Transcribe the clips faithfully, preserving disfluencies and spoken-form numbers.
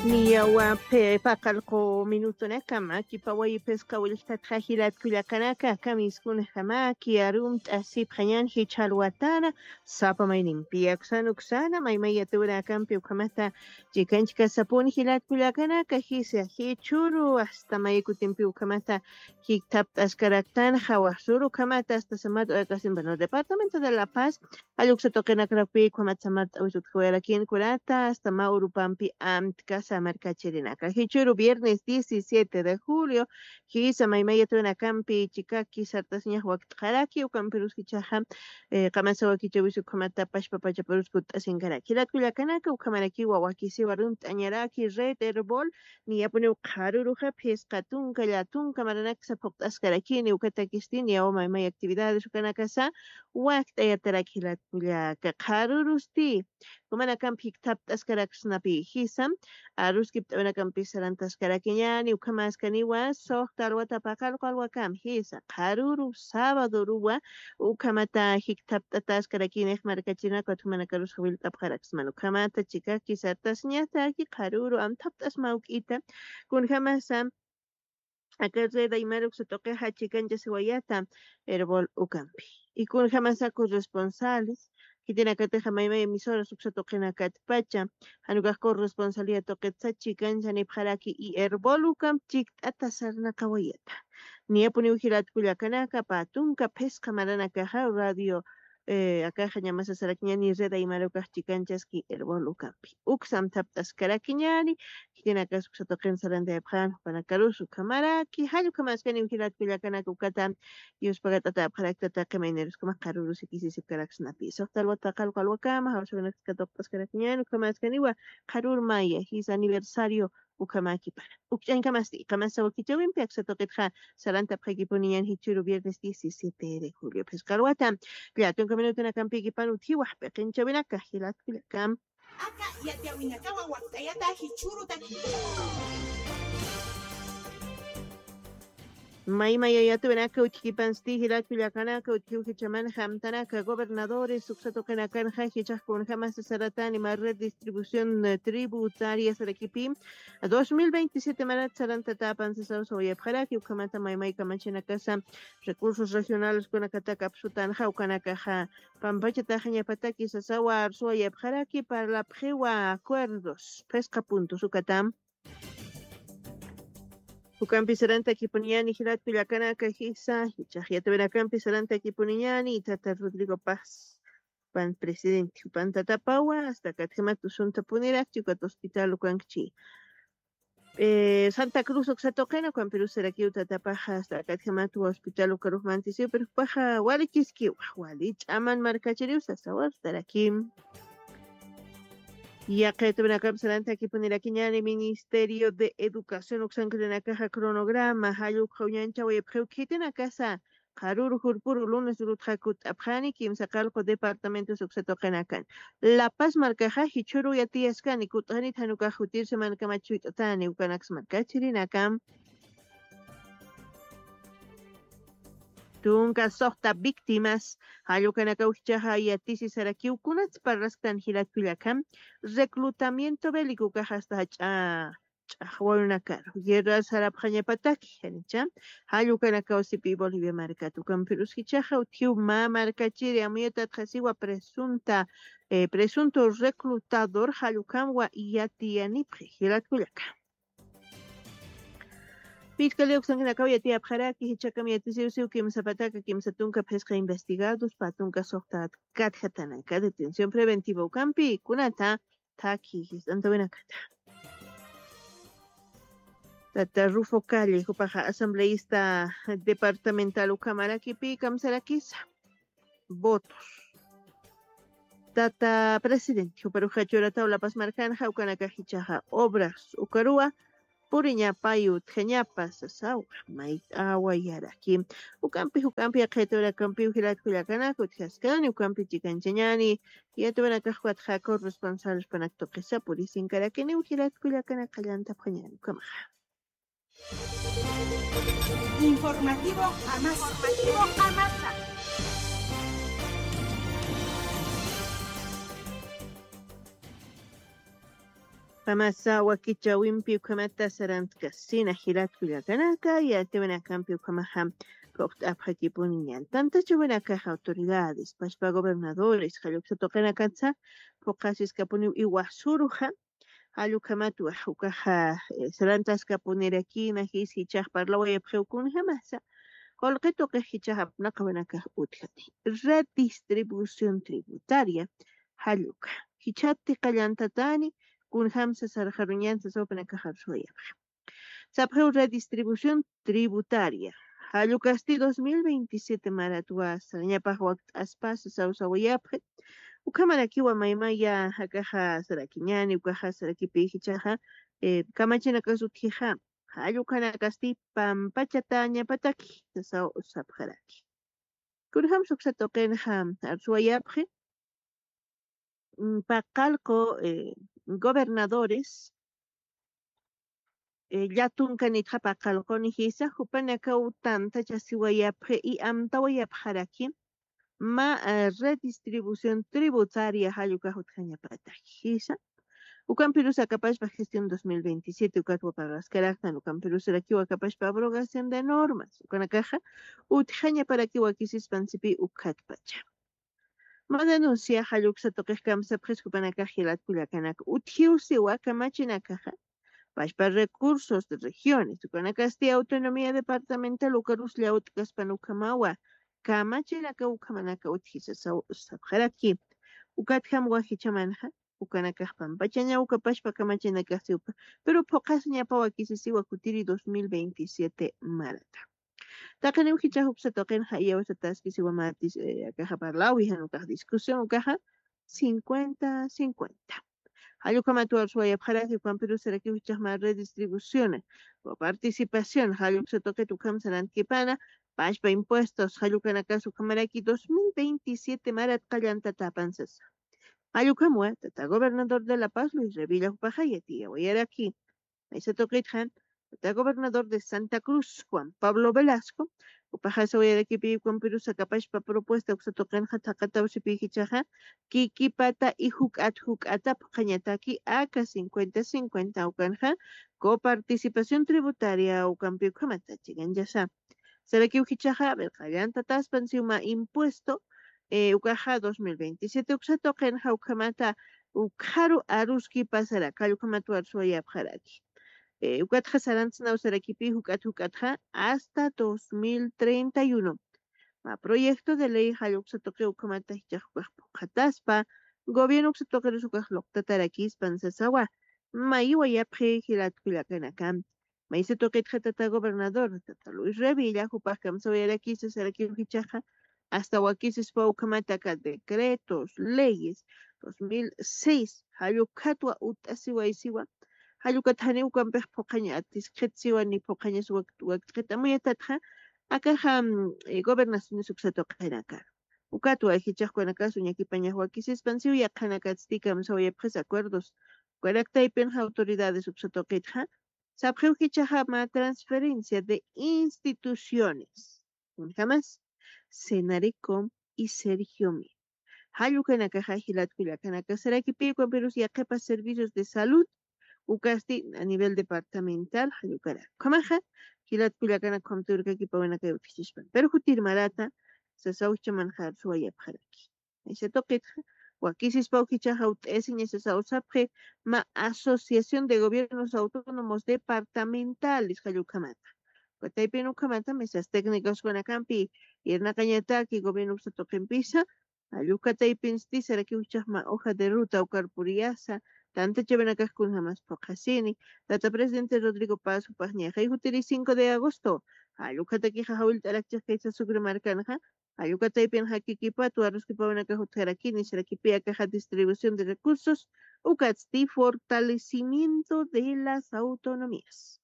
Niyawa paqallqu minutunakama kipawayi phisqa willktatxa jilat kullakanaka, kamiskunjamaki arumt'asipxañan jichhalwatana sapa maynimpi. Aksan uksana maymay yatiwinakampi ukhamata chikanchkasapuni jilat kullakanaka, jisa jichhuru asta maykutimpi ukhamata jikthapt'askaraktanxa wasuru ukhamata asta samat uqasin, bueno, departamento de La Paz, jalluksa tuqinakarapi ukhamat samat t'awisutjawayarakin kunata asta mä urupampi amtkasa markachirinaka. Jichhuru viernes diecisiete de julio, jisa maymay yatiwinakampi chikaki sartasiñax wakt'xaraki, ukampirus jichhaxa, eh, qamasa wakichawis ukhamata pachpapachaparus kutt'asinkaraki. Jilat kullakanaka, ukhamarakiwa wakisiwa arumt'añaraki Red Erbol, niyapuniw qharüruxa phisqa tunka llatunka maranaksa phuqt'askarakini, ukatakisti niyawa maymay actividades ukanakasa wakt'ayatarak jilat kullaka. Qharürusti jumanakampi jikthapt'askaraksnapi jisa, aruskipt'awinakampis sarantaskarakiñäni, ukhamaskaniwa suxta alwata paqallqu alwakam jisa, qharüru sabadoruwa ukhamata jikthapt'ataskarakinix markachirinaka, ukhamakarus jawillt'apxaraksman. Ukhamata chikaki sartasiñataki qharüru amthapt'asma uk'ita, kunjamasa aka Red Aymara uksa tuqixa chikanchasiwayata Erbol ukampi. Y kunjamasa corresponsales, khitinakatixa maymay emisoras uksa tuqinakatpacha, jan ukax corresponsaliya tuqitsa chikancha nipxaraki y Erbol ukamp chikt'ata sarnaqawayata. Niyapuniw jilat kullakanaka, pä tunka phisqa maranakaxa radio, eh, akaxa ñamasa sarakiñäni Red Aymara ukax chikanchaski Erbol ukampi. Uksa amthapt'askarakiñäni, khitinakas uksa tuqin sarantayapxän jupanakarus ukhamaraki, jall ukhamaskaniw jilat kullakanaka ukata yuspagatatayapxarakta taqi mayniruskama qharürus ikisisipkaraksnapi. Suxta alwata paqallqu alwakama, jawsawinaksa katuqt'askarakiñäni, ukhamaskaniwa qharür maya, jisa aniversario ukhamäkipana. Ukch'añkamasti, qamasa wakichäwimpi aksa tuqitxa sarantapxakipuniñäni jichhüru viernes diecisiete de julio phisqa alwata. Llatunka minutunakampïkipan utjiwa p'iqinchäwinaka jilat kullaka. Aka yatiyäwinakawa wakt'ayata jichhürutaki. Maymay yatiyäwinaka utjkipansti jilat kullakanaka, utjiw jichhamanxa amtanaka gobernadores uksa tuqinakanxa jichhax kunjamasa saratani mä red distribución, eh, tributaria sarakipi dos mil veintisiete marat sarantatäpan sasaw sawayapxaraki, ukhamata maymay kamachinakasa recursos regionales kunakataka apsutanxa ukanakaxa pampachataxañapataki sasawa arsuwayapxaraki, parlapxiwa acuerdos phisqa puntos ukata. Ukampi sarantakipuniñäni jilat kullakanaka jisa, jichhax yatiyäwinakampi sarantakipuniñäni tata Rodrigo Paz, jupan presidente, jupan tatapawa, asta katjamat usuntapunirakchi ukat hospital ukankchi. Eh, Santa Cruz uksa tuqina, ukampirus sarakiw tatapaxa asta katjamat hospital ukarux mantisiw, pero jupaxa wali kiskiwa, wali ch'aman markachiriw sasaw arstarakim. Yaqha yatiyäwinakam sarantakipunirakiñäni Ministerio de Educación uksankirinakaxa cronograma, jall ukxa uñanchawayapxiw khitinakasa, qharüru jurpuru lunes urutxa kutt'apxani kimsa qallqu departamentos uksa tuqinakan. La Paz markaxa jichhüru yatiyaskani, kutt'anit jan ukax jutir semanakama chuyt'atani ukanaks markachirinaka. Tunka suxta víctimas, jall ukanakaw jichhaxa yatisi sarakiw kunats parlasktan jilat kullaka, reclutamiento bélico ukax asta jach'a ch'axwawinakaru guerra sarapxañapataki, janicha, jall ukanakaw sipi Bolivia markat, ukampirus jichhaxa utjiw mä markachiri amuyatayatxasiwa presunta, eh, presunto reclutador, jall ukamwa yatiyanipxi jilat kullaka. Fiscalía uksankinakaw yatiyapxaraki, jichhakam yatisiwsiw kimsa pataka kimsa tunka phisqa investigados, pä tunka suxta katjatanaka detención preventiva ukampi kunata thakhi jist'antawinakata. Tata Rufo Calle, jupaxa asambleísta departamental ukhamarakipi kamsarakisa votos. Tata presidente, juparuxa churataw La Paz markanxa, ukanakax jichhaxa obras ukaruwa puriñapayu utjañapa sasawa mayt'awayaraki. Ukampi, ukampi yaqha yatiyäwinakampiw jilat kullakanaka utjaskani, ukampi chikanchañäni, yatiyäwinakax ukatxa corresponsales panak tuqisa purisinkarakiniw jilat kullakanaka, qallantapxañäni, ukhamaxa. Informativo Amasa. Informativo Amasa. Qamasa wakichawimpi ukhamata sarantkasina jilat kullakanaka, yatiwinakampi ukhamaxa quqt'apxakipuniñan. Tantachawinakaxa autoridades, pachpa gobernadores, jalluksa tuqinakatsa, phuqasiskapuniw iwasuruxa, jallukhamatwa ukaxa, eh, sarantaskapunirakina, jis jichax parlawayapxiw kunjamasa, qullqi tuqix jichax apnaqawinakax utjani. Redistribución tributaria, jalluka. Jichhati qallantatani, kunjamsa sarxaruñan sasawpinakaxar suwayapxi. Sapxiw redistribución tributaria. Jallukasti dos mil veintisiete maratwa sarañapax wakt'aspasa sawsawayapxi. Ukhamarakiwa maymaya akaxa sarakiñani, ukaxa sarakipi jichaxa, eh, kamachinakas utjixa. Jallukanakasti pampachatañapataki sasaw sapxaraki. Kunjam suksa tuqinxa arsuwayapxi, mm, paqallqu, eh, gobernadores, eh, llatunkanitxa paqallquni jisa, jupanakaw tantachasiwayapxi y amtawayapxaraki, mä, eh, redistribución tributaria jallukax utjañapataki jisa. Ukampirus akapashpa gestión dos mil veintisiete, ukatwa parlaskaraktan, ukampirusarakiw akapashpa abrogación de normas, ukanakaxa utjañaparaki wakisispansipï ukatpacha. Mä denuncia jalluksa tuqix kamsapxis jupanakax jilat kullakanaka. Utjiwsiwa kamachinakaxa, pachpa recursos de regiones, ukanakasti autonomía departamental ukarus llawt'kaspan ukhamawa, kamachinaka ukhamanaka utjisa saw-, sapxaraki. Ukatjam wajichamanxa, ukanakax pampachaña uka pachpa kamachinakax siwpa, pero phuqasiñapaw wakisisiwa kutiri dos mil veintisiete marata. Taqiniw jichax uksa tuqinxa iyawsataskisiwa mä dis-, eh, akaxa parlawi, jan ukax discusión, ukaxa cincuenta cincuenta. Jallukhamat warsuwayapxaraki, ukampirusarakiw jichax mä redistribución, wa participación, jalluksa tuqit ukham sarantkipana, pachpa impuestos, jallukanakas ukhamaraki dos mil veintisiete marat qallantatapan sasa. Jallukhamwa, tata gobernador de La Paz, Luis Revilla, jupaxa yatiyawayaraki. Maysa tuqitxa, tata gobernador de Santa Cruz, Juan Pablo Velasco, jupaxa sawayarakipi, ukampirus akapashpa propuesta uksa tuqinxa thaqatawsipi jichaxa, kikipata y juk'at juk'ata phuqhañataki aka cincuenta cincuenta ukanxa, coparticipación tributaria ukampi ukhamata chiqanchasa. Sarakiw jichaxa, a ver, qallantataspan siw mä impuesto, eh, ukaxa dos mil veintisiete uksa tuqinxa ukhamata, ukharu aruski pasaraki, ukhamat warsuwayapxaraki. Eh, ukatxa sarantsnaw sarakipi juk'at juk'atxa hasta dos mil treinta y uno. Mä proyecto de ley jalluksa tuqi ukhamata jichax ukax phuqhataspa, gobierno uksa tuqirus ukax luqtatarakispan sasawa. Mayiwayapxi jilat kullakanaka. Maysa tuqitxa tata gobernador, tata Luis Revilla, jupax kamsawayarakisa sarakiw jichaxa, hasta wakisispa ukhamata aka decretos, leyes, dos mil seis, jallukhatwa ut'asiwaysiwa, jallukat janiw ukampix phuqhaña atiskxitsiwa ni phuqhañas wak-, wakt'xit amuyatatxa, akaxa, mm, eh, gobernaciones uksa tuqinaka. Ukatwa jichax ukanakasu ñakipañax wakisispan siw yaqhanakatsti kamsawayapxis acuerdos. Ukarak taypinxa autoridades uksa tuqitxa, sapxiw jichaxa mä transferencia de instituciones. Kunjamas, Senaricom y Sergiomi. Jallukanakaxa jilat kullakanaka sarakipi ukampirus yaqhipa servicios de salud, ukasti a nivel departamental, jallukarak. Ukhamaxa, jilat kullakanaka ukham tuwirkakipawinakay utjichispan. Pero jutir marata, sasaw jichamanxa arsuwayapxaraki. Maysa tuqitxa, wakisispaw jichaxa ut'asiña sasaw sapxi, mä Asociación de Gobiernos Autónomos Departamentales, jallukhamata. Uka taypin ukhamata, mesas técnicas ukanakampi, irnaqañataki gobierno uksa tuqimpisa, jalluka taypinsti sarakiw jichax mä hoja de ruta ukar puriyasa, tantachawinakax kunjamas phuqhasini, tata presidente Rodrigo Paz jupax ñaxay jutiri cinco de agosto, jallukatakixa jawillt'arakchix kaysa Sucre markanxa, jallukataypinxa kikipatwa aruskipawinakax utjarakini, sarakipi akaxa distribución de recursos, ukatsti fortalecimiento de las autonomías.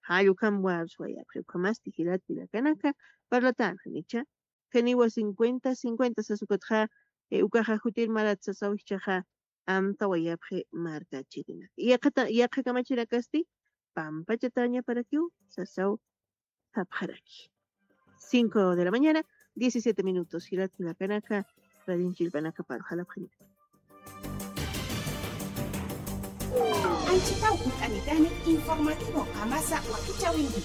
Jallukhamwa arsuwayapxi, ukhamasti jilat kullakanaka, parlatanxa, nicha, janiwa cincuenta cincuenta sas ukatxa, eh, ukaxa jutir marat sasaw jichaxa, amtawayapxi markachirinaka. Yaqhata-, yaqha kamachirakasti, pampachatañaparakiw, sasaw sapxaraki. Cinco de la mañana, diecisiete minutos. Jilat kullakanaka, radin chillpanaka paru jalapxaña. Anchhitaw ukanitani informativo qamasa wakichäwinki.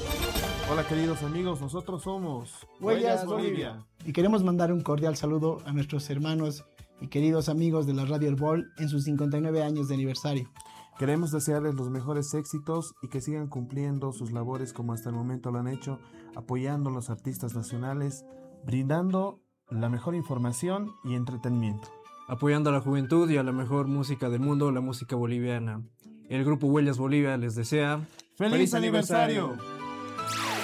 Hola queridos amigos, nosotros somos Huellas Bolivia. Y queremos mandar un cordial saludo a nuestros hermanos y queridos amigos de la Radio Erbol en sus cincuenta y nueve años de aniversario. Queremos desearles los mejores éxitos y que sigan cumpliendo sus labores como hasta el momento lo han hecho, apoyando a los artistas nacionales, brindando la mejor información y entretenimiento. Apoyando a la juventud y a la mejor música del mundo, la música boliviana. El grupo Huellas Bolivia les desea ¡Feliz aniversario!